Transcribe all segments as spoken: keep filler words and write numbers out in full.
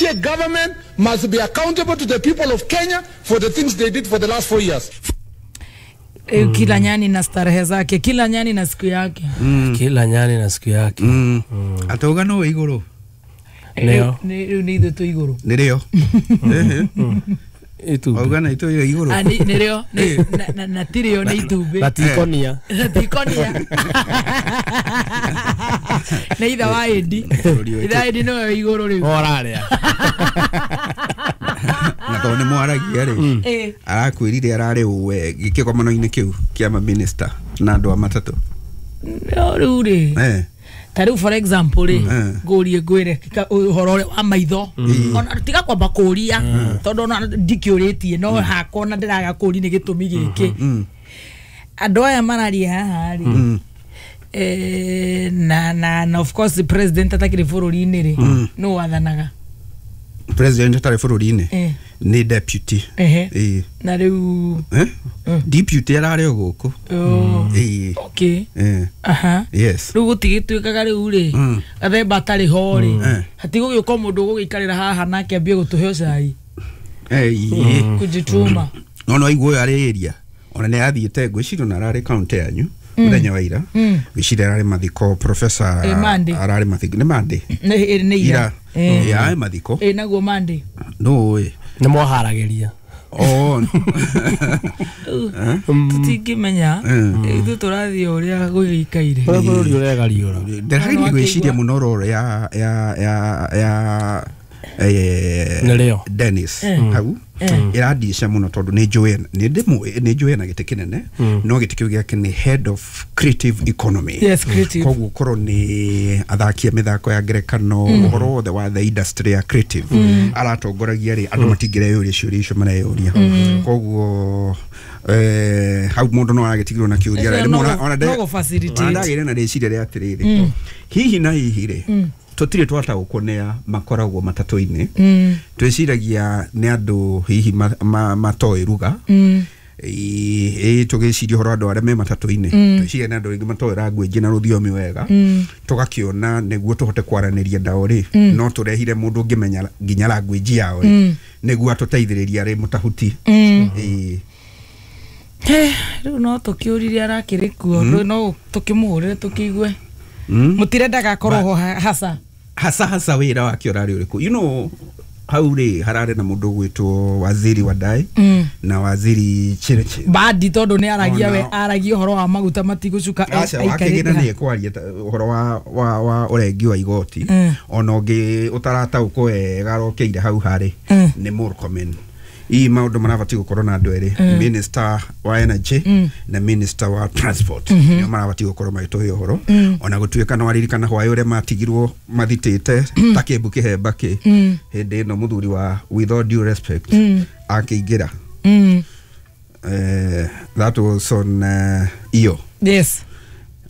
year government must be accountable to the people of Kenya for the things they did for the last four years. Mm. Kila nyani na starehe zake, kila nyani na siku yake. Mm. Kila nyani na siku yake. Mm. Mm. Atoga no iguru. Neo. Ni ni ithu tu iguru. Ni rio. Itu. Auga na itu iguru. Ah ni rio na na tirio ni itumbĩ. Na tikonia. Na tikonia. Na itha wa Edi. Itha Edi no iguru riu. Oraria. Na tondũ nĩ mwaragia rĩ arakwĩrire ararĩ ũwe gĩkĩgomano-inĩ kĩu kĩa ma minister na andũ a matatũ. No rĩu rĩ ta rĩu for example rĩ ngũrie ngwĩre ũhoro ũrĩa wa maitho ona tiga kwamba kũria tondũ ona ndikĩũrĩtie no hakwa ona ndĩraga kũri nĩ gĩtũmi gĩkĩ andũ aya mararia haha rĩ eh na na na of course the president atakĩrĩ bũrũri-inĩ rĩ nũ wathanaga? President atarĩ bũrũri-inĩ nĩ deputy. Eh na rĩu eh deputy ararĩ o gũkũ. Eh okay. Aha. Yes. Rĩu gũtigĩtuĩkaga rĩu rĩ gathemba atarĩ ho rĩ hatigũgĩũka mũndũ ũgũgĩikarĩra haha nake ambie gũtũhe cai. Eh kujituma. No no aiguo arĩ area ona nĩ athiĩte ngwĩciria na ararĩ county yanyu mũthenya wa ira ngwĩciria ararĩ mathiko professor ararĩ mathiko nĩ Monday nĩ ira ya mathiko eh naguo Monday no ĩ nĩ mwaharagĩria. Oh tutingĩmenya ithuĩ tũrathiĩ ũrĩa gũgĩikaire bũrũri ũregariũra. Ndĩrageria gwĩciria mũno roro ya ya ya ya eh Dennis hau ĩrandica mũno tondũ nĩ njũĩ nĩ ndĩmũĩ nĩ njũĩ na gĩtĩ kĩnene no gĩtĩ kĩu gĩake nĩ head of creative economy. Yes, creative. Koguo korwo nĩ athaki a mĩthako ya ngerekano ũhoro wothe wa the industry ya creative aratongoragia rĩ andũ matingĩreyũria ciũria icio mareyũria. Koguo eh hau mũndũ no aragĩtigirwo na kĩũria rĩ ndagĩire na rĩciria rĩa atĩrĩrĩ hihi na hihi rĩ tutire twataũkwo nĩ makoragwo matatũ-inĩ twĩciragia nĩ andũ hihi matoĩ ruga ĩ tũgĩciria ũhoro andũ arĩa me matatũ-inĩ twĩciria nĩ andũ aingĩ matoĩ language na rũthiomi wega tũgakĩona nĩguo tũhote kwaranĩria nao rĩ no tũrehire mũndũ ũngĩmenya nginya language yao rĩ nĩguo atũteithĩrĩria arĩ mũtahuti. Rĩu no tũkĩũririe arakĩrĩ kuo no tũkĩmũhũrĩre tũkĩigue mutirendaga akorwo ho hasa hasa hasa wira wake urari uriku you know hau ri harare na mundu gwitwo waziri Wadai mm. na waziri Chirichiri badi tondu ni aragia we aragia uhoro wa maguta matigucuka aikarite ni kwaria uhoro wa wa wa urengi wa igoti mm. ona ungi utarataũkwo wega arokeire hau hari mm. ni Murkomen ii maundu marabati gukorwo na andu eri mm. minister wa energy mm. na minister wa transport mm -hmm. nio marabati gukorwo magituhe uhoro mm. ona gutuika no aririkana hwaĩ uria matigirwo mathitite mm. ta kimbu kihemba ki mm. hindi ino muthuri wa with all due respect mm. akiingira mm. eh that was on uh, iyo yes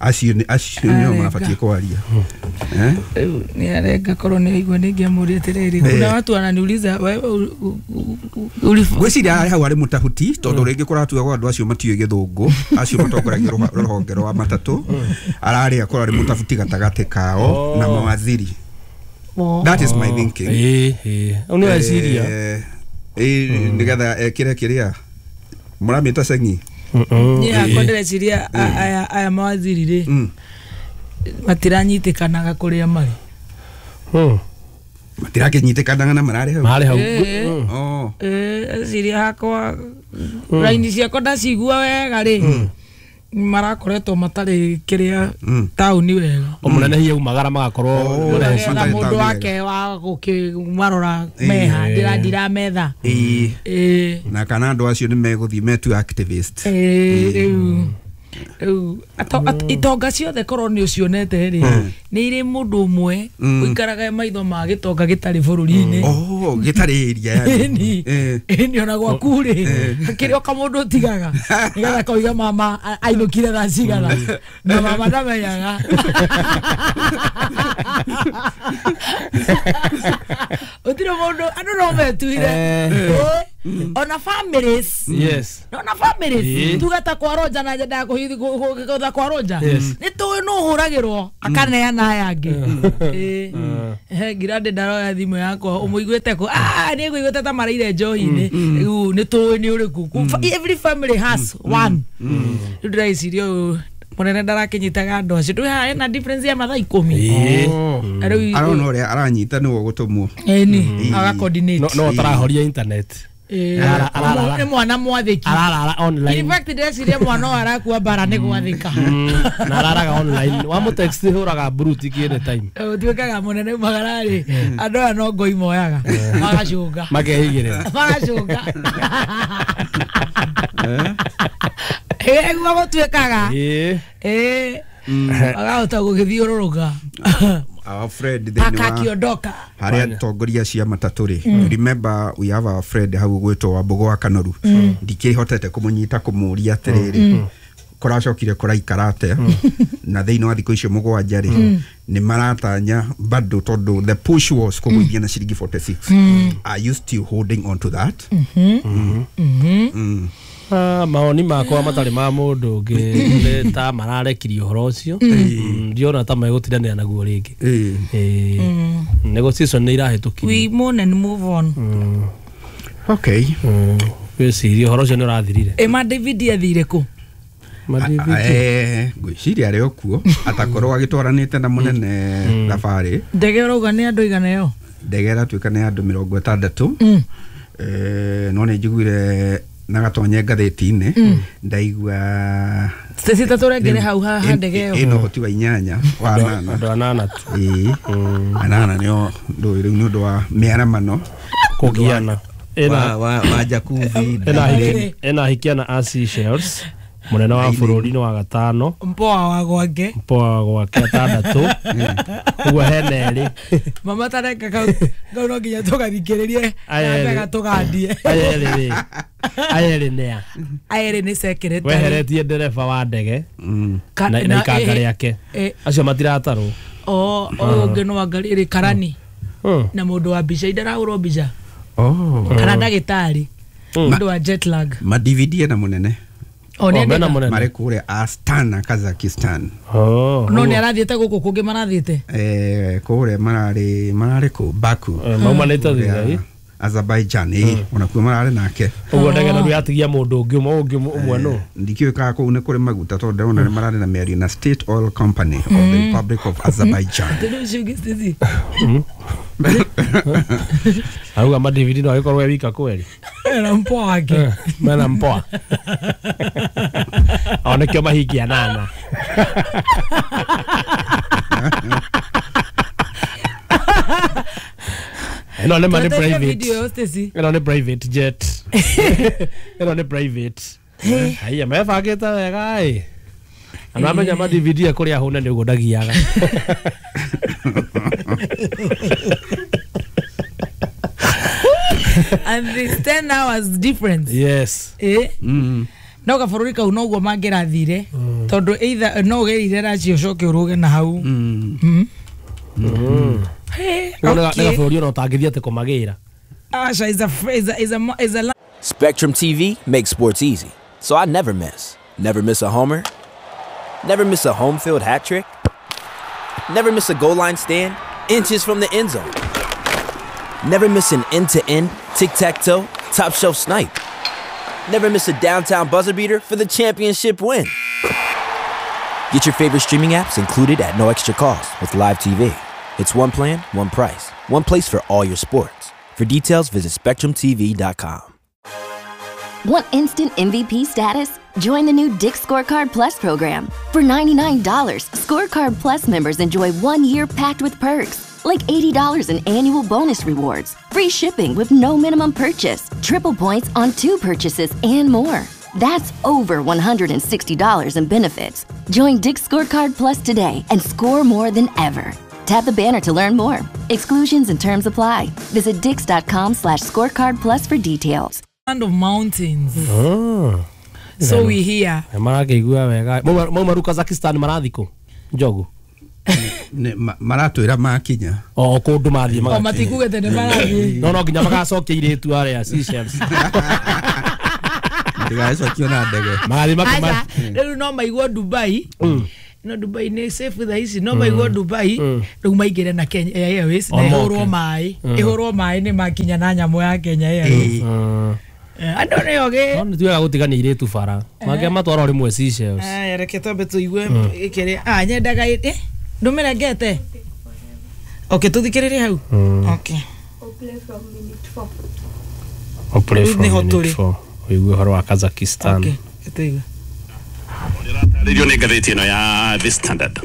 acio acio nio marabati kwaria eh ni arenga korwo ni igwe ningiamuria atiriri kuna watu wananiuliza wewe ulifu gwiciria hau ari mutahuti tondu ringi kuratuga andu acio matiũĩ githungu acio matongoragia ruhonge rwa matatu arari akorwo ari mutahuti gatagati kao na mawaziri. That is my thinking. Eh eh uni weciria eh nigetha ekire kiria muramita sengi ni akwa ndireciria aya aya mawaziri ri matiranyitikanaga kuria mari mm matirakinyitĩkanaga na mararĩ hau mararĩ hau oh eh ciria hakwa raini ciakwa ndacigua wega rĩ marakoretwo matarĩ kĩrĩa taũni wega o mũnene hihi aumagara magakorwo mũndũ wake wa gũkĩmarora meha ndĩra ndirametha ĩĩ na kana andũ acio nĩ megũthiĩ metu activist ĩĩ rĩu rĩu itonga ciothe korwo nĩ ũcionete rĩ nĩ irĩ mũndũ ũmwe ũikaraga maitho ma gĩtonga gĩtarĩ bũrũri-inĩ oh gĩtarĩ area yani ĩni ona gwaku rĩ kĩrĩ o kamũndũ ũtigaga nĩgetha koiga mama ainũkire thaa cigana na mama ndamenyaga ũtirĩ mũndũ andũ no metuire. Ona families. Yes. Ona families. Tuga ta kwa Roja na nyendaga kũhitha kwa Roja. Nĩ tũĩ nũ ũhũragĩrwo akaneana aya angĩ. Eh. Ngirande ndaroya thimũ yakwa ũmũiguĩte kũ? Ah, nĩ ngũiguĩte ta maraire njohi-inĩ. Rĩu nĩ tũĩ nĩ ũrĩkũ. Every family has one. Rĩu ndĩreciria ũyũ munene ndarakinyitaga andu acio ndui haha ena difference ya mathaa ikumi. Rĩu arona ũrĩa aranyita nĩwe ũgũtũmwo ĩni aga coordinate no tarahoria internet. Nĩ mwana mwathĩki ararara online. In fact ndeciria mwana ũyũ arakua bara nĩ gwathĩka na araraga online wa text hũraga brute ki any time ũtuĩkaga mũnene magararĩ andũ aya no ngoi moyaga magacũnga makeigĩrĩra magacũnga ĩguo gũtuĩkaga ĩĩ agahota gũgĩthiũrũrũka. Our friend thĩinĩ wa akakiondoka harĩa atongoria cia matatũ rĩ, remember we have our friend hau gwĩtwo Wambugu wa Kanoru, ndikĩhotete kũmũnyita kũmũria atĩrĩrĩ kũracokire kũraikara atĩa na thĩinĩ wa thikũ icio mũgwanja rĩ nĩ maratanya bado tondũ the push was kũgũithia na ciringi forty-six. Are you still holding on to that? Ah, maoni makwa matarĩ ma mũndũ ũngĩ nĩ ta mararekirie ũhoro ũcio ndiona ta megũtindanĩra naguo rĩngĩ. Ĩĩ negotiation nĩ irahĩtũkirie. We mourn and move on. Okay. Gwĩciria ũhoro ũcio nĩ ũrathirire. Ĩ ma David athire kũ? Eh, ngwĩciria arĩ o kuo atakorwo agĩtwaranĩte na mũnene thabarĩ. Ndege ũrauga nĩ andũ igana ĩyo? Ndege ĩratuĩka nĩ andũ mĩrongo ĩtandatũ. Eh, no nĩ njiguire na gatonye ngathĩti-inĩ ndaigua Stacy tatũrengere hau haha ndege ĩyo ĩna ũhoti wa inyanya wa anana andũ anana tu. Ĩĩ anana nĩo ndũĩ rĩu nĩ ũndũ wa mĩaramano kũgiana ĩna wa jacuzzi ĩna hikiana a Seychelles mũnene wa bũrũri nĩ wa gatano mpoa wa gwake mpoa wa gwake atandatũ ũguo hena erĩ mama tareka kau kau no nginya tũgathikĩrĩrie na tũgandie aya erĩ rĩ aya erĩ nĩa aya erĩ nĩ secretary weheretie ndereba wa ndege na ikanga rĩake acio matiratarwo. O ũyũ ũngĩ no anga rĩrĩ karani na mũndũ wa mbica indarahũrwo mbica kana ndagĩtarĩ mũndũ wa jet lag ma D V D na mũnene Oh, mena mũnene marĩ kũrĩa Astana Kazakhstan. Oh, no nĩ arathiĩte gũkũ kũngĩ marathiĩte eh kũrĩa mararĩ mararĩ kũ Baku maumanĩte thutha Azerbaijan eh onakuo mararĩ nake ũguo ndege no yatigia mũndũ ũngĩ ũmwe ũngĩ ũmwe no ndikĩũĩ kana kũu nĩ kũrĩ maguta tondũ ndĩrona nĩ mararĩ na mĩario na State Oil Company of the Republic of Azerbaijan. Auga ma D V D no agĩkorwo e wika kweri mena mpoa wake mena mpoa o nĩkĩo mahingia nana ĩno nĩ ma nĩ private ĩno nĩ private jet ĩno nĩ private haiya mebangĩte wega ĩ na amenya ma D V D kũrĩa hũne nĩ ũguo ndagiaga. And it's ten hours difference. Yes. Eh? Mm. No gabururi kau noguo mangĩrathire tondu either no ũgereire racio ũcoke ũrũge na hau. Mm. Mm. Mm. Hey, okay. Nĩ gabũrũri ona ũtangĩthiĩ atĩ kũmagĩra. Asha is a is a is a is a Spectrum T V makes sports easy, so I never miss. Never miss a homer. Never miss a home field hat trick. Never miss a goal line stand inches from the end zone. Never miss an end-to-end, tic-tac-toe, top-shelf snipe. Never miss a downtown buzzer beater for the championship win. Get your favorite streaming apps included at no extra cost with Live T V. It's one plan, one price, one place for all your sports. For details, visit spectrum T V dot com. Want instant M V P status? Join the new Dick's Scorecard Plus program. For ninety-nine dollars, Scorecard Plus members enjoy one year packed with perks, like eighty dollars in annual bonus rewards, free shipping with no minimum purchase, triple points on two purchases, and more. That's over one hundred sixty dollars in benefits. Join Dick's Scorecard Plus today and score more than ever. Tap the banner to learn more. Exclusions and terms apply. Visit dicks.com slash scorecard plus for details. Land of mountains. Oh. So we here. Marakĩigua wega. Maumaru Kazakhstan marathi kũ? Njogu. Maratwĩra makinya o kũndũ mathiĩ o matikugete nĩ marathiĩ no no nginya magacokia irĩtu arĩa Seychelles ndigacokio na ndege magathiĩ makĩma rĩu no maiguo Dubai no Dubai nĩ safe thaa ici no maiguo Dubai rĩu maingĩre na Kenya Airways na ĩhũrwo maĩ ĩhũrwo maĩ nĩ makinya na nyamũ ya Kenya Airways andũ nĩ ogĩ no nĩ tuaga gũtigania irĩtu bara mangĩ matwara rĩmwe Seychelles aya reke twambe tũigue ĩkĩrĩ ah nyendaga ĩ ndũmĩrengete okay tũthikĩrĩrie hau okay I'll play from minute four ũigue ũhoro wa Kazakhstan okay tũigue rĩratarĩrio nĩ ngathĩti ĩno ya The Standard.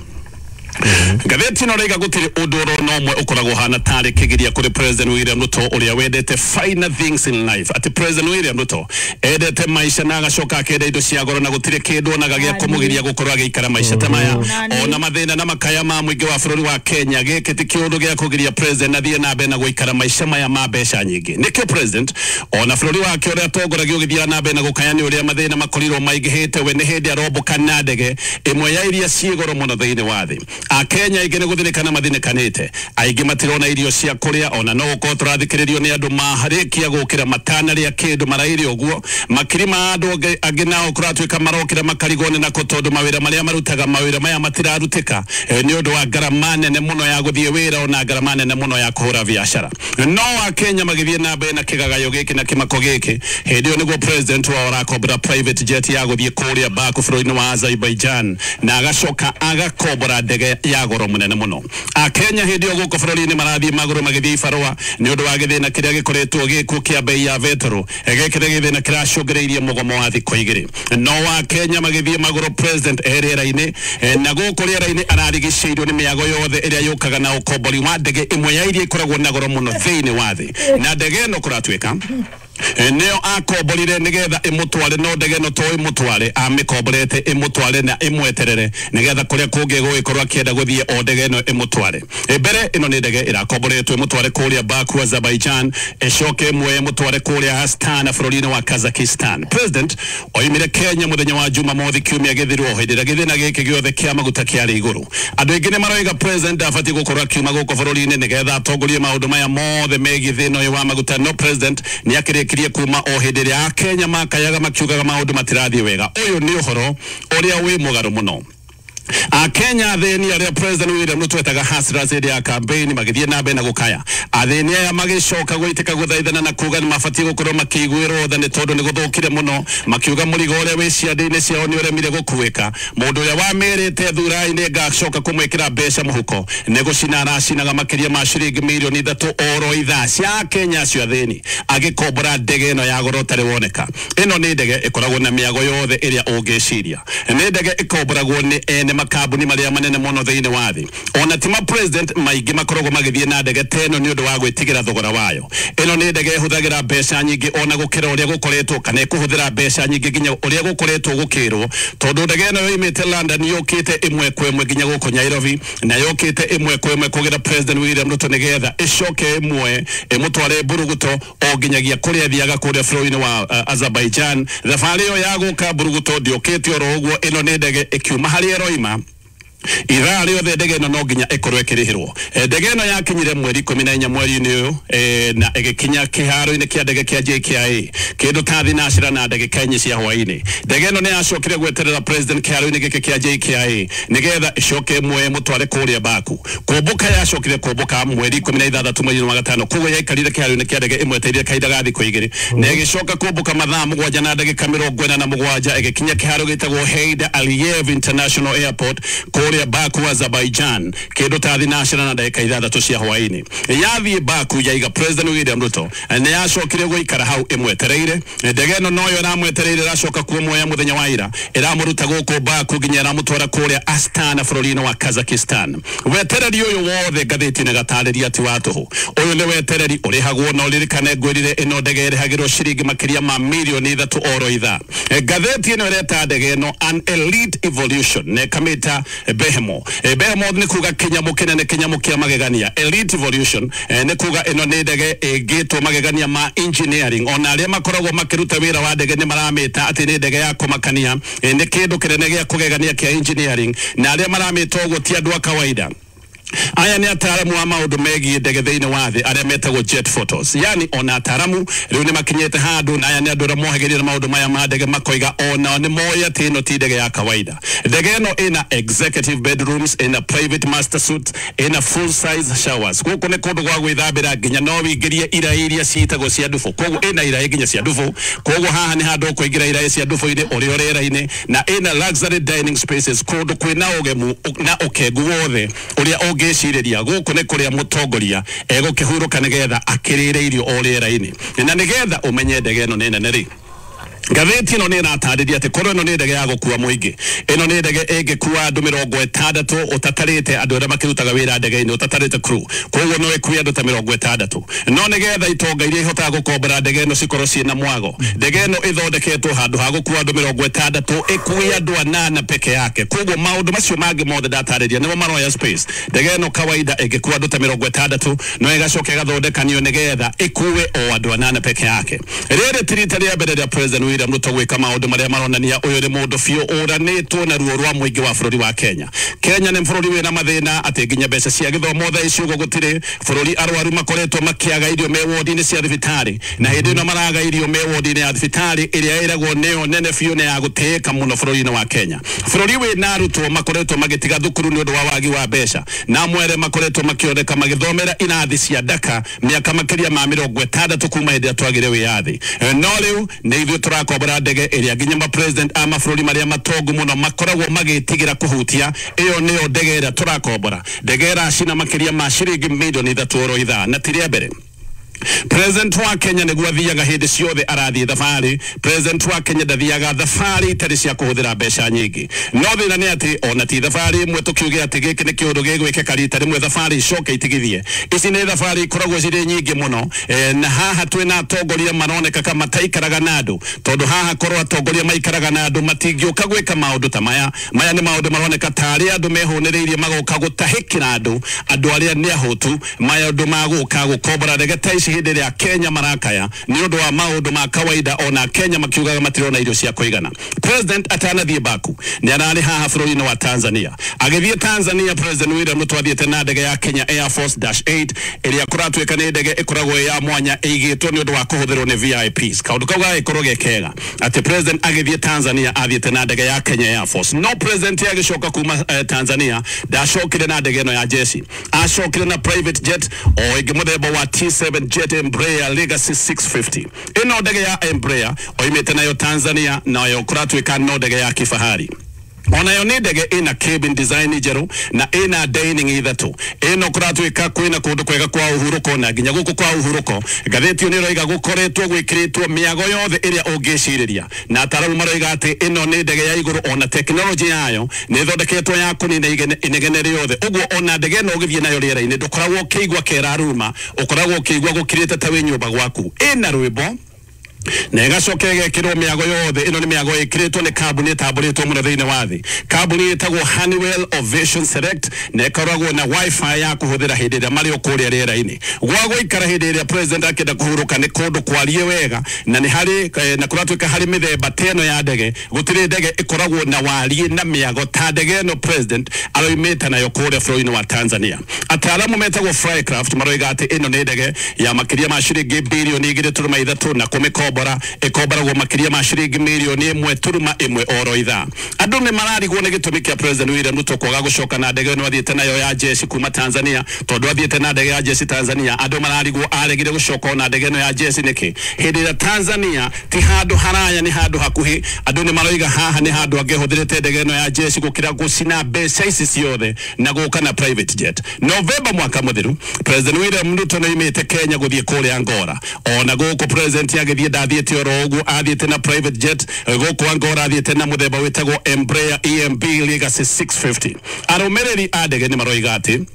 Ngathĩti ĩno raiga gũtirĩ ũndũ oro na ũmwe ũkoragwo hana tarĩ kĩgiria kũrĩ President William Ruto ũrĩa wendete finer things in life atĩ President William Ruto endete maica na agacoka akenda indo cia goro na gũtirĩ kĩndũ onaga gĩa kũmũgiria gũkorwo agĩikara maica ta maya ona mathĩna na makaya ma mũingĩ wa bũrũri wa Kenya gĩkĩ ti kĩũndũ gĩa kũgiria President athiĩ na mbere na gũikara maica maya ma mbeca nyingĩ nĩkĩo President ona bũrũri wake ũrĩa atongoragia ũgĩthiaga na mbere na gũkaya nĩ ũrĩa mathĩna makorirwo maingĩhĩte we nĩ hĩndĩ arombũka na ndege ĩmwe ya iria ciĩ goro mũno thĩinĩ wa thĩ Akenya aingĩ nĩ gũthĩnĩkana mathĩnĩkanĩte aingĩ matirona irio cia kũrĩa ona no gũkorwo tũrathikĩrĩrio nĩ andũ marĩkia gũkĩra matanarĩa kĩndũ maraire ũguo makiri ma andũ angĩ nao kũratuĩka marokĩra makarigwo nĩ nako tondũ mawĩra marĩa marutaga mawĩra maya matirarutĩka nĩ ũndũ wa ngarama nene mũno ya gũthiĩ wĩra ona ngarama nene mũno ya kũhũra biacara no Akenya magĩthiĩ na mbere na kĩgagayo gĩkĩ na kĩmako gĩkĩ hĩndĩ ĩyo nĩguo president wao arakombora private jet ya gũthiĩ kũrĩa Baku bũrũri-inĩ wa Azerbaijan na agacoka agakombora ndege ya goro munene muno Akenya hĩndĩ ĩyo gũkũ bũrũri-inĩ marathiĩ magũrũ magĩthiĩ ibarũa nĩ ũndũ wa gĩthĩna kĩrĩa gĩkoretwo gĩkuo kĩa bei ya betũrũ gĩkĩ nĩ gĩthĩna kĩracũngĩrĩirie mũgomo wa thikũ igĩrĩ no Akenya magĩthiĩ magũrũ president e rĩera-inĩ na gũkũ rĩera-inĩ ararigicĩirio nĩ mĩago yothe ĩrĩa yũkaga na ũkombori wa ndege ĩmwe ya iria ikoragwo na goro mũno thĩinĩ wa thĩ na ndege ĩno kũratuĩka nĩyo akomborire nĩgetha ĩmũtware no ndege ĩno to ĩmũtware amĩkomborete ĩmũtware na ĩmweterere nĩgetha kũrĩa kũngĩ gũgĩkorwo akĩenda gũthiĩ o ndege ĩno ĩmũtware mbere ĩno nĩ ndege ĩrakomboretwo ĩmũtware kũrĩa Baku Azerbaijan ĩcoke ĩmwe ĩmũtware kũrĩa Astana bũrũri-inĩ wa Kazakhstan President oimire Kenya mũthenya wa Jumamothi kiumia gĩthirwo hĩndĩ ĩrĩa gĩthĩna gĩkĩ gĩothe kĩa maguta kĩarĩ igũrũ andũ aingĩ nĩ maroiga president ndabatiĩ gũkorwo akiuma gũkũ bũrũri-inĩ nĩgetha atongorie maũndũ maya mothe megiĩ thĩna ũyũ wa maguta no president nĩ akĩrĩkirie kuma o hĩndĩ ĩrĩa Akenya makayaga makiugaga maũndũ matirathiĩ wega ũyũ nĩ ũhoro ũrĩa wĩ mũgarũ mũno Akenya athĩni arĩa President William Ruto etaga hustlers hĩndĩ ya campaign magĩthiĩ na mbere na gũkaya athĩni aya magĩcoka gwĩtĩka gũthaithana na kuga nĩ mabatiĩ gũkorwo makĩiguĩrwo tha nĩ tondũ nĩ gũthũkire mũno makiuga mũrigo ũrĩa wĩ ciande-inĩ ciao nĩ ũremire gũkuĩka mũndũ ũrĩa wamĩrĩte thura-inĩ ngacoka kũmwĩkĩra mbeca mũhuko nĩ gũcina aracinaga makĩria ma ciringi mirioni ithatũ oro ithaa cia Akenya acio athĩni agĩkombora ndege ĩno ya goro ũtarĩ woneka ĩno nĩ ndege ĩkoragwo na mĩago yothe ĩrĩa ũngĩciria nĩ ndege ĩkomboragwo nĩ ene makambuni maria manene muno thiini wa thi ona ti ma president maingi makoragwo magithie na ndege ta ĩno nĩ ũndũ wa gwĩtigĩra thogora wayo ĩno nĩ ndege ĩhũthagĩra mbeca nyingĩ ona gũkĩra ũrĩa gũkoretwo kana ĩkũhũthĩra mbeca nyingĩ nginya ũrĩa gũkoretwo gũkĩrwo tondũ ndege ĩno yoimĩte London yũkĩte ĩmwe kwa ĩmwe nginya gũkũ Nairobi na yũkĩte ĩmwe kwa ĩmwe kũgĩra President William Ruto nĩgetha ĩcoke ĩmwe ĩmũtware Mburuguto o nginyagia kũrĩa athiaga kũrĩa bũrũri-inĩ wa uh, Azerbaijan thabarĩ ĩyo ya gũka Mburuguto ndĩũkĩte oro ũguo ĩno nĩ ndege ĩkiuma harĩa ĩroima ithaa rĩothe ndege ĩno no nginya ĩkorwo ĩkĩrĩhĩrwo ndege ĩno yakinyire mweri ikũmi na inya mweri-inĩ ũyũ na ĩgĩkinya kĩharo-inĩ kĩa ndege kĩa J K I A kĩndũ ta thinacĩra na ndagĩka inya cia hwaĩ-inĩ ndege ĩno nĩ yacokire gweterera president kĩharo-inĩ gĩkĩ kĩa J K I A nĩgetha ĩcoke ĩmwe ĩmũtware kũrĩa Baku kũmbũka yacokire kũmbũka mweri ikũmi na ithathatũ mweri-inĩ wa gatano koguo yaikarire kĩharo-inĩ kĩa ndege ĩmwetereire kahinda ga thikũ igĩrĩ na ĩgĩcoka kũmbũka mathaa mũgwanja na ndagĩka mĩrongo ĩna na mũgwanja ĩgĩkinya kĩharo gĩtagwo Heydar Aliyev International Airport kũrĩa Baku Azerbaijan kĩndũ ta thinacĩra na ndagĩka ithathatũ cia hwaĩ-inĩ yathiĩ Baku yaiga President William Ruto nĩ yacokire gũikara hau ĩmwetereire ndege ĩno noyo ĩramwetereire ĩracoka kumuoya mũthenya wa ira ĩramũruta gũkũ Baku nginya ĩramũtwara kũrĩa Astana bũrũri-inĩ wa Kazakhstan wetereri ũyũ wothe ngathĩti-inĩ gatarĩria ti wa tũhũ ũyũ nĩ wetereri ũrĩhagwo na ũririkane ngwĩrire ĩno ndege ĩrĩhagĩrwo ciringi makĩria ma mirioni ithatũ oro ithaa ngathĩti ĩno ĩreta ndege ĩno an elite evolution na ĩkamĩta Behemoth Behemoth nĩ kuga kĩnyamũ kĩnene kĩnyamũ kĩa magegania elite evolution nĩ kuga ĩno nĩ ndege ĩngĩtwo magegania ma engineering ona arĩa makoragwo makĩruta wĩra wa ndege nĩ maramĩta atĩ nĩ ndege ya kũmakania nĩ kĩndũ kĩnene gĩa kũgegania kĩa engineering na arĩa maramĩta ũguo ti andũ a kawaida Aya nĩ ataaramu a maũndũ megiĩ ndege thĩinĩ wa thĩ arĩa metagwo jet photos, yani ona ataaramu rĩu nĩ makinyĩte handũ, na aya nĩ andũ arĩa mohagĩrĩra maũndũ maya ma ndege makoiga ona nĩ moĩ atĩ ĩno ti ndege ya kawaida. Ndege ĩno ĩna executive bedrooms, ĩna private master suite, ĩna full size showers. Gũkũ nĩ kũndũ gwa gwĩthambĩra nginya no wĩingĩrie iraĩ iria ciĩtagwo cia ndubũ, koguo ĩna iraĩ nginya cia ndubũ, koguo haha nĩ handũ ũkũingĩra iraĩ cia ndubũ-inĩ ũrĩ o rĩera-inĩ, na ĩna luxury dining spaces, kũndũ kwĩna ũgemu na ũkengu wothe ũrĩa ũngĩcirĩria. Gũkũ nĩ kũrĩa mũtongoria egũkĩhurũka nĩgetha akĩrĩre irio o rĩera-inĩ. Na nĩgetha ũmenye ndege ĩno nĩ nene rĩ, ngathĩti ĩno nĩ ĩratarĩria atĩ korwo ĩno nĩ ndege ya gũkua mũingĩ, ĩno nĩ ndege ĩngĩkua andũ mĩrongo ĩtandatũ ũtatarĩte andũ arĩa makĩrutaga wĩra ndege-inĩ, ũtatarĩte crew, koguo no ĩkue andũ ta mĩrongo ĩtandatũ. No nĩgetha itonga iria ihotaga gũkombora ndege ĩno cikorwo ciĩna mwago, ndege ĩno ĩthondeketwo handũ ha gũkua andũ mĩrongo ĩtandatũ ĩkue andũ anana peke yake, koguo maũndũ macio mangĩ mothe ndatarĩria nĩmo maroya space. Ndege ĩno kawaida ĩngĩkua andũ ta mĩrongo ĩtandatũ no ĩgacoka ĩgathondekanio nĩgetha ĩkue o andũ anana peke yake. Rĩrĩ ti rita rĩa mbere rĩa President William Ruto gwĩka maũndũ marĩa maronania ũyũ nĩ mũndũ biũ ũranĩtwo na ruo rwa mũingĩ wa bũrũri wa Kenya. Kenya nĩ bũrũri wĩna mathĩna atĩ nginya mbeca cia gĩthomo thaa ici ũguo gũtirĩ, bũrũri arwaru makoretwo makĩaga irio me wodi-inĩ cia thibitarĩ, na hĩndĩ ĩno maraga irio me wodi-inĩ ya thibitarĩ ĩrĩa ĩragwo nĩyo nene biũ na ya gũtĩĩka mũno bũrũri-inĩ wa Kenya. Bũrũri wĩna arutwo makoretwo magĩtiga thukuru nĩ ũndũ wa wagi wa mbeca, na amwe arĩa makoretwo makĩoneka magĩthomera irathi cia ndaka mĩaka makĩria ma mĩrongo ĩtandatũ kuma hĩndĩ ĩrĩa twagire wĩyathi. No rĩu nĩ ithuĩ tũrakombora ndege ĩrĩa nginya ma president a mabũrũri marĩa matongu mũno makoragwo magĩtigĩra kũhutia. Ĩyo nĩyo ndege ĩrĩa tũrakombora, ndege ĩracina makĩria ma ciringi milioni ithatũ oro ithaa, na ti rĩa mbere. President wa Kenya nĩguo athiaga hĩndĩ ciothe arathiĩ thabarĩ. President wa Kenya ndathiaga thabarĩ itarĩ cia kũhũthĩra mbeca nyingĩ. No thĩna nĩ atĩ ona ti thabarĩ ĩmwe tũkiuge atĩ gĩkĩ nĩ kĩũndũ gĩgwĩkĩka rita rĩmwe thabarĩ icoke itigithie. Ici nĩ thabarĩ ikoragwo cirĩ nyingĩ mũno, e, na haha twĩna atongoria maroneka ka mataikaraga na andũ, tondũ haha korwo atongoria maikaraga na andũ matingĩũka gwĩka maũndũ ta maya. Maya nĩ maũndũ maroneka tarĩ andũ mehũnĩrĩirie magoka gũtahĩkĩra andũ, andũ arĩa nĩ ahũtu, maũndũ ma gũka gũkombora ndege ta ici hĩndĩ ĩrĩa Kenya marakaya nĩ ũndũ wa maũndũ ma kawaida, ona Kenya makiugaga matirona irio cia kũigana. President atanathiĩ Baku nĩ ararĩ haha bũrũri-inĩ wa Tanzania. Agĩthiĩ Tanzania, President William Ruto athiĩte na ndege ya Kenya Air Force dash eight ĩrĩa kũratuĩka nĩ ndege ĩkoragwo ĩ ya mwanya ĩigĩtwo nĩ ũndũ wa kũhũthĩrwo nĩ V I Ps. Kaũndũ kau gagĩkorwo ge kega atĩ President agĩthiĩ Tanzania athiĩte na ndege ya Kenya Air Force. No President agĩcoka kuma eh, Tanzania ndacokire na ndege ĩno ya jeshi, acokire na private jet o ĩngĩ mũthemba wa T seven Jet Embraer Legacy six fifty. Ĩno ndege ya Embraer oimĩte nayo Tanzania, nayo kũratuĩka no ndege ya kifahari. Onayo nĩ ndege ĩna cabin design njerũ na ĩna dining ithatũ. Ĩno kũratuĩka kwĩna kũndũ kwega kwa ũhurũko, na nginya gũkũ kwa ũhurũko ngathĩti ĩyo nĩ ĩroiga gũkoretwo gwĩkĩrĩtwo mĩago yothe ĩrĩa ũngĩcirĩria, na ataaramu maroiga atĩ ĩno nĩ ndege ya igũrũ, ona tekinoronjĩ yayo nĩ ĩthondeketwo ya kũnina inegene rĩothe. Ũguo ona ndege ĩno ũgĩthiĩ nayo rĩera-inĩ ndũkoragwo ũkĩigua keraruma, ũkoragwo ũkĩigua gũkirĩte ta wĩ nyũmba gwaku. Ĩna rwĩmbo na ĩgacoka ĩgekĩrwo mĩago yothe. Ĩno nĩ mĩago ĩkĩrĩtwo nĩ kambuni ĩtambũrĩtwo mũno thĩinĩ wa thĩ, kambuni ĩtagwo Honeywell Ovation Select, na ĩkoragwo na wifi ya kũhũthĩra hĩndĩ ĩrĩa marĩ o kũrĩa rĩera-inĩ. Gwa gũikara hĩndĩ ĩrĩa president akĩenda kũhurũka nĩ kũndũ kwarie wega, na nĩ harĩ na kũratuĩka harĩ mĩthemba ta ĩno ya ndege, gũtirĩ ndege ĩkoragwo na wariĩ na mĩago ta ndege ĩno president aroimĩte nayo kũrĩa bũrũri-inĩ wa Tanzania. Ataaramu metagwo Flycraft maroiga atĩ ĩno nĩ ndege ya makĩria ma ciringi birioni igĩrĩ turuma ithatũ, na kũmĩkomba ĩkomboragwo makĩria ma ciringi mirioni ĩmwe turuma ĩmwe oro ithaa. Andũ nĩ mararigwo nĩ gĩtũmi kĩa President William Ruto kwaga gũcoka na ndege ĩno athiĩte nayo ya jeshi kuma Tanzania, tondũ athiĩte na ndege ya jeshi Tanzania. Andũ mararigwo aregire gũcoka na ndege ĩno ya jeshi nĩkĩ hĩndĩ ĩrĩa Tanzania ti handũ haraya, nĩ handũ hakuhĩ. Andũ nĩ maroiga haha nĩ handũ angĩhũthĩrĩte ndege ĩno ya jeshi gũkĩra gũcina mbeca ici ciothe na gũka na private jet. Novemba mwaka mũthiru President William Ruto nĩoimĩte Kenya gũthiĩ kũrĩa Angola. Ona gũkũ president agĩthiĩ ndathiĩte oro ũguo, athiĩte na private jet. Gũkũ Angola athiĩte na mũthemba wĩtagwo Embraer E M B Legacy six fifty. Arũmĩrĩri a ndege nĩ maroiga atĩ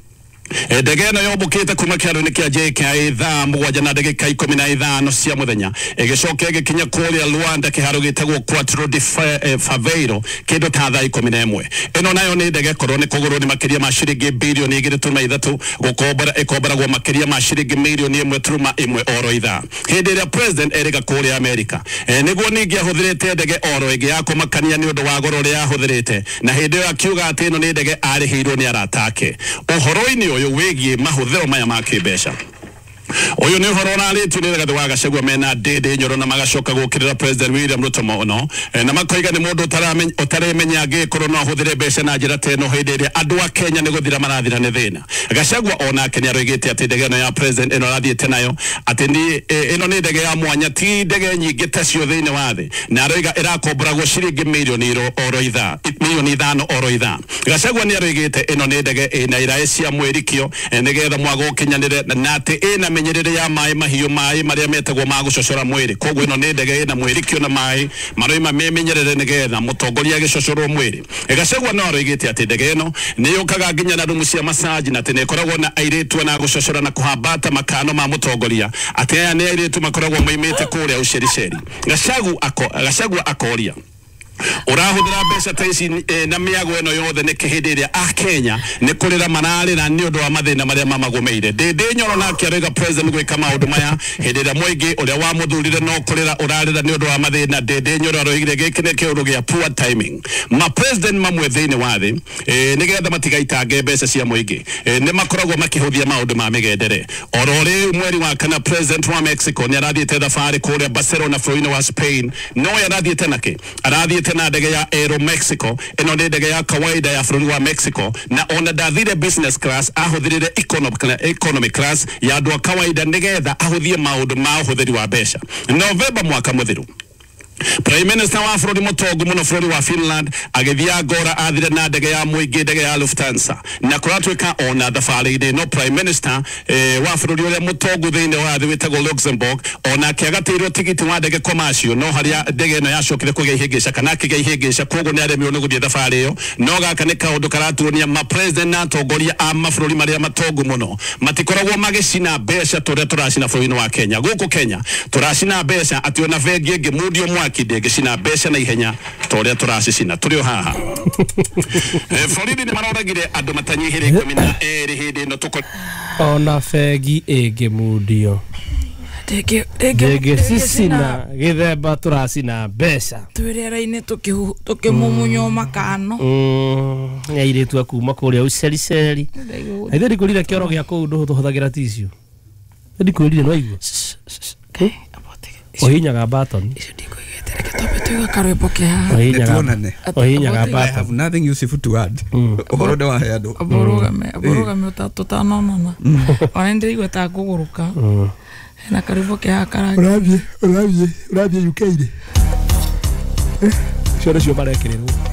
Ndege ĩno yombũkĩte kuma kĩharo-inĩ kĩa J K I A thaa mũgwanja na ndagĩka ikũmi na ithano cia mũthenya, ĩgĩcoka ĩgĩkinya kũrĩa Luanda kĩharo gĩtagwo Quatro de Fevereiro kĩndũ ta thaa ikũmi na ĩmwe. Ĩno nayo nĩ ndege korwo nĩ kũgũrwo nĩ makĩria ma ciringi bilioni igĩrĩ turuma ithatũ, gũkombora ĩkomboragwo makĩria ma ciringi mirioni ĩmwe turuma ĩmwe oro ithaa. Hĩndĩ ĩrĩa president erĩga kũrĩa Amerika, e, nĩguo ningĩ ahũthĩrĩte ndege oro ĩngĩ ya kũmakania nĩ ũndũ wa goro ũrĩa ahũthĩrĩte, na hĩndĩ ĩyo akiuga atĩ ĩno nĩ ndege arĩhĩirwo nĩ arata ake. Ũhoro-inĩ ũyũ wĩgiĩ mahũthĩro maya ma kĩmbeca, ũyũ nĩ ũhoro ũrarĩtio nĩ Rigathĩ wa Gachagua mena Ndĩndĩ Nyoro, na magacoka gũkĩrĩra President William Ruto mũno, na makoiga nĩ mũndũ ũtaremenya angĩkorwo no ahũthĩre mbeca na njĩra ta ĩno hĩndĩ ĩrĩa andũ a Kenya nĩ gũthira marathira nĩ thĩna. Gachagua onake nĩ aroigĩte atĩ ndege ĩno ya president ĩno arathiĩte nayo atĩ nĩ ĩno nĩ ndege ya mwanya, ti ndege nyingĩ tacio thĩinĩ wa thĩ, na aroiga ĩrakomboragwo ciringi mirioni oro ithaa mirioni ithano oro ithaa. Gachagua nĩ aroigĩte ĩno nĩ ndege ĩna iraĩ cia mwĩrikio nĩgetha mwago ũkinyanĩre, na atĩ ĩna menyerere ya maĩ mahiũ, maĩ marĩa metagwo ma gũcocora mwĩrĩ. Koguo ĩno nĩ ndege ĩna mwĩrikio na maĩ maroima memenyerere nĩgetha mũtongoria agĩcocorwo mwĩrĩ. Gachagua no aroigĩte atĩ ndege ĩno nĩ yũkaga nginya na rumu cia massage, na atĩ nĩ ĩkoragwo na airĩtu na gũcocora na kũhambata makano ma mũtongoria, atĩ aya nĩ airĩtu makoragwo moimĩte kũrĩa Ũcericeri. Gachagua akoria, ũrahũthĩra mbeca ta ici na mĩago ĩno yothe nĩkĩ hĩndĩ ĩrĩa a Kenya nĩ kũrĩra mararĩra nĩ ũndũ wa mathĩna marĩa mamagũmĩire? Ndĩndĩ Nyoro nake aroiga president gwĩka maũndũ maya hĩndĩ ĩrĩa mũingĩ ũrĩa wamũthurire no kũrĩra ũrarĩra nĩ ũndũ wa mathĩna. Ndĩndĩ Nyoro aroigire gĩkĩ nĩ kĩũndũ gĩa poor timing. Ma president mamwe thĩinĩ wa thĩ nĩgetha matigaitange mbeca cia mũingĩ nĩ makoragwo makĩhũthia maũndũ ma mĩgendere. Oro rĩu mweri wa kana president wa Mexico nĩ arathiĩte thabarĩ kũrĩa Barcelona bũrũri-inĩ wa Spain. No arathiĩte nakĩ? Arathiĩte na ndege ya Aero Mexico. Ĩno nĩ ndege ya kawaida ya bũrũri wa Mexico, na ona ndathire business class, ahũthĩrire economy class ya andũ a kawaida nĩgetha ahũthie maũndũ ma ũhũthĩri wa mbeca. Novemba mwaka mũthiru, Prime Minister wa bũrũri mũtongu mũno bũrũri wa Finland agĩthiĩ Angola, athire na ndege ya mũingĩ, ndege ya Lufthansa, na kũratuĩka ona thabarĩ-inĩ no Prime Minister eh, wa bũrũri ũrĩa mũtongu thĩinĩ wa thĩ wĩtagwo Luxembourg onake agatĩirwo tigiti wa ndege commercial, no harĩa ndege ĩno yacokire kũgĩa ihĩngĩca kana akĩgĩa ihĩngĩca, koguo nĩ aremirwo nĩ gũthiĩ thabarĩ ĩyo. No gaka nĩ kaũndũ karatuonia ma president na atongoria a mabũrũri marĩa matongu mũno matikoragwo magĩcina mbeca tũrĩa tũracina bũrũri-inĩ wa Kenya. Gũkũ Kenya tũracina mbeca atĩ ona bengi ĩngĩmundio mwaki ndĩngĩcina mbeca na ihenya ta ũrĩa tũracicina. Tũrĩ o haha. Borithi nĩ maroragire andũ matanyihĩire ikũmi na erĩ hĩndĩ ĩno tũko ona bengi ĩngĩmundio ndĩngĩcicina gĩthemba tũracina mbeca twĩ rĩera-inĩ tũkĩmumunywo makano. Nĩ airĩtu a kuma kũrĩa Ũcericeri. Ithe ndikwĩrire kĩoro gĩa kũu ndũhũthagĩra tissue. Ndikwĩrire nĩwaigua ũhihinyaga button. Icio ndikuigĩte, reke twambe tũigue karwĩmbo ke haha. Ũhihinyaga ũhihinyaga I button. have nothing useful to add. Ũhoro nĩ wahe andũ. Ũrũgame ũrũgame tũtanonana, ona nĩndĩraigua ta ngũgũrũka. Hena karwĩmbo ke haha karangi. Ũrathiĩ ũrathiĩ ũrathiĩ U K rĩ, icio nĩcio marekĩrĩrwo.